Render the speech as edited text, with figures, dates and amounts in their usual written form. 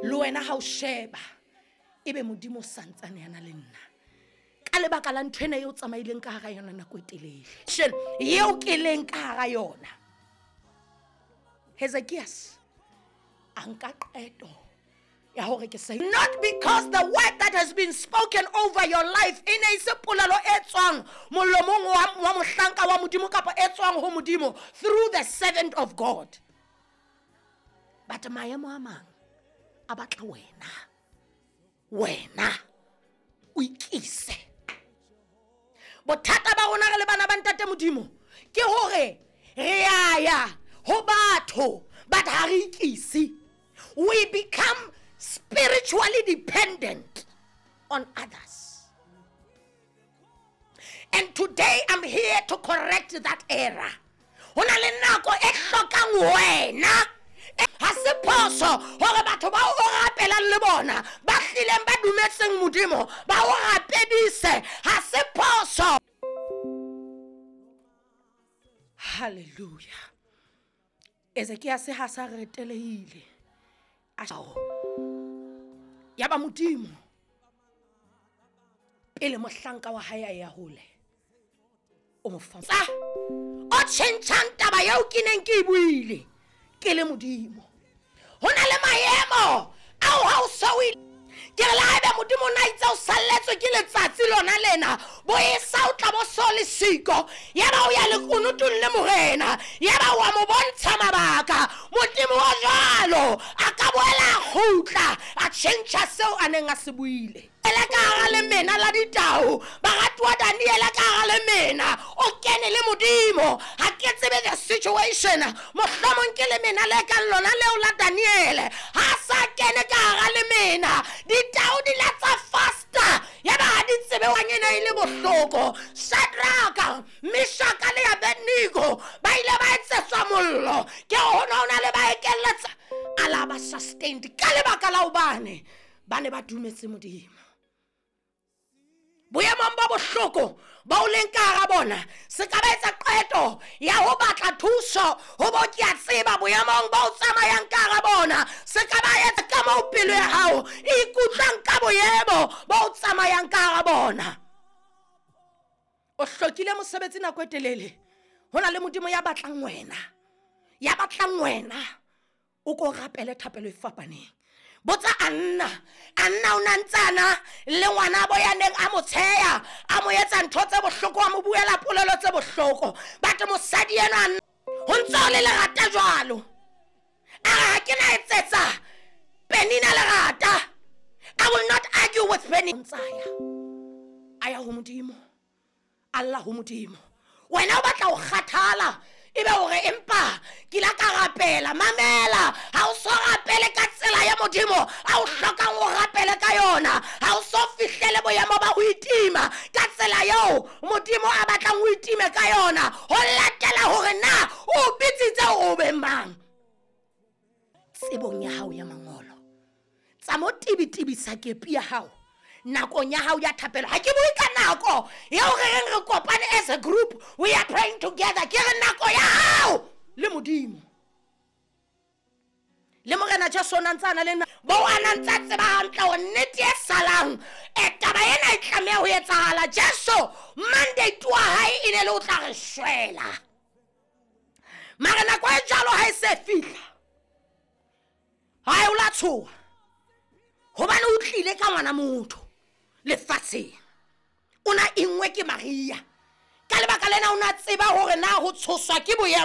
Le wena ha o sheba ebe Modimo o santsane yana le nna ka lebaka la ntho ena eo tsamaileng ka hara yona nako e telele eo ke leng ka hara yona. Hezekias a nka qeto ya hore ke say not because the word that has been spoken over your life e ne e se polelo e tswang molomong wa mohlanka wa Modimo kapa e tswang ho Modimo through the servant of God, but maemo a mang a batla wena, wena o ikise. Bothata ba rona re le bana ba ntate Modimo ke hore re a ya ho batho but ha re ikise. We become spiritually dependent on others. And today I'm here to correct that error. Ho na le nako e hlokang wena. Ha se phoso hore batho bao o rapelang le bona ba hlileng ba dumetseng Modimo ba o rapedise. Ha se phoso. Hallelujah. Ezekiase ha sa retelehile. Ya ba Modimo pele mohlanka wa hae a ya hole o mo fa o tjhentjhang taba eo ke neng ke e buile ke le Modimo. Ho na le maemo ao ha o so o ke re le haebe Modimo o na itse o salletswe ke letsatsi lona lena bo e sa o tla bo so le siko, ya ba o ya lekunutung le morena, ya ba wa mo bontsha mabaka. Modimo wa jwalo a ka boela a kgutla a tjhentjha seo a neng a se buile. Ele ka hara lemena la ditau, baratuwa Daniele ka hara lemena o kene le Modimo. Ha ke tsebe the situation, mohlomong ke lemena le kang lona leo la Daniele. Ha sa kene ka hara lemena, ditau di la tsa faster, ya ba ha di tsebe wa ena e le bohloko. Shadraka, Meshaka le Abednego ba ile ba etsetswa mollo ke ho na le ba ekelletsa a la ba sustained ka lebaka la hobane ba ne ba dumetse Modimo. Boemong ba bohloko ba o leng ka hara bona, se ka ba etsa qeto ya ho batla thuso ho bo ke a tseba boemong ba o tsamayang ka hara bona. Se ka ba etsa ka moo pelo ya hao e ikutlwang ka boemo ba o tsamayang ka hara bona. O hlokile mosebetsi nako e telele, ho na le Modimo ya batlang wena, ya batlang wena o ko rapele thapelo e fapaneng. Botsa Anna, Anna o na ntsana le ngwana bo ya neng a mo tsheya, a mo etsa ntho tse bohloko, a mo buela polelo tse bohloko. But mosadi enwa ho ntse ho le lerata jwalo. A re ha ke na etsetsa Penina lerata. I will not argue with Penina. Ntsaya a ya ho Modimo, Allah ho Modimo. Wena o batla ho kgathala ebe hore empa ke la ka rapela. Mamela, ha o so rapele ka tsela ya Modimo a o hlokang o rapele ka yona. Ha o so fihlele boemo ba ho itima ka tsela eo Modimo a batlang o itime ka yona, ho latela hore na o bitsitse hore o be mang. Tsebong ya hao ya mangolo, tsa mo tibitibisa kepi ya hao nakong ya hao ya thapelo. Ha ke bue ka nako eo re reng re kopane as a group, we are praying together. Ke re nako ya hao le Modimo. Le Morena Jesu o na ntse a na le nna, bo a na ntse a tseba hantle hore nnete e salang, taba ena e tlameha ho etsahala. Jesu mandate wa hae e ne le o tla re shwela. Mara nako e jwalo ha e se fihla, ha e o la tshoha, hobane o tlile ka ngwana motho lefatsheng. O na engwe ke Maria. Ka lebaka lena o na tseba hore na ho tshoswa ke boemo.